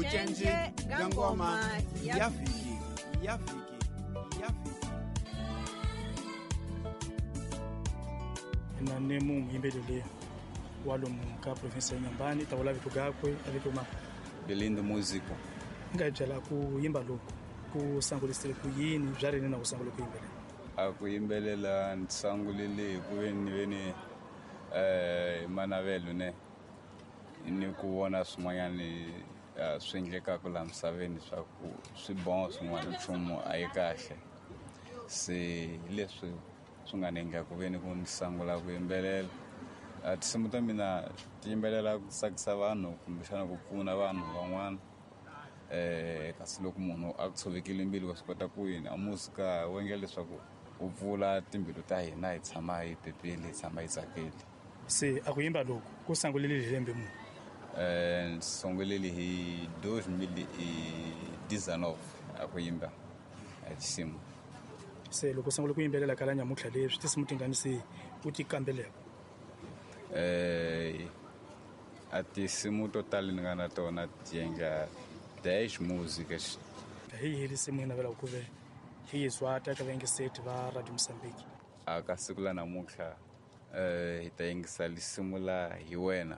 Vucenje bya ngoma ya vhiki, ya vhiki, ya vhiki. Na ni muyimbeleri wa lomu ka province ya Inhambane, ta vula vito gakwe a vito ma Belindo Músico. Nga hi byela ku yimba loku ku sangulisile ku yini bya rini na ku sangula ku yimbelela? A ku yimbelela ni sangulile hi ku veni veni manavelo ne ni ku vona swin'wanyani swi endlekaka laha misaveni swa ku swi bon swin'wana nchumu a yi kahle. Se hi leswi swi nga ni endla ku veni ku ni sangula ku yimbelela. Tinsimu ta mina ti yimbelela ku tsakisa vanhu kumbexana ku pfuna vanhu van'wana. Kasi loko munhu a ku tshovekile mbilu wa swi kota ku yini a muzika wu endla leswaku wu pfula timbilu ta hina hi tshama hi pepile, hi tshama hi tsakile. Se a ku yimba loku ku sangulile hi lembe muni? Ni sungulile hi 2019 a ku yimba a tinsimu. Se loko u sungula ku yimbelela kala nyamuntlha leswi tinsimu ti ngani se u ti kambeleka? A tinsimu to tala ni nga na tona ti endla 10 músicas. Hi yihi risimu yi navelaka ku ve hi yi zwata eka vayingiseti va Radio Mozambique? A ka siku la namuntlha hi ta yingisa risimu la Hi Wena.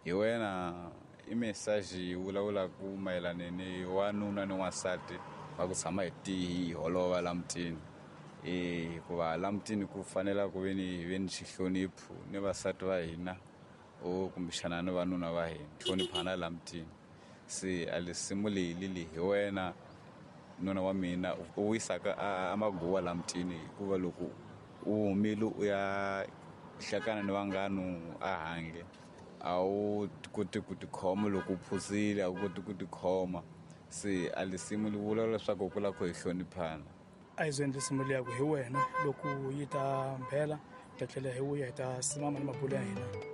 Hi Wena i message yi vulavulaka mayelana ni wanuna ni wansati va ku tshama hi hi holova la mutini. Hikuva la mutini ku fanela ku ve ni hi ve ni xihlonipho ni vasati va hina o kumbexana ni vanuna va hina, hloniphana la mutini. Se a risimu leyi li hi wena nuna wa mina u wisaka a maguwa la mutini, hikuva loko u humile u ya hlekana ni vanghanu a handle a wu koti ku tikhoma, loko u phuzile a wu koti ku tikhoma. Se a risimu li vula leswaku ku lava ku hi hloniphana. A hi zweni risimu liya ku hi wena loko yi ta mbhela, hi ta tlhela hi vuya hi ta simama ni mabulo ya hina.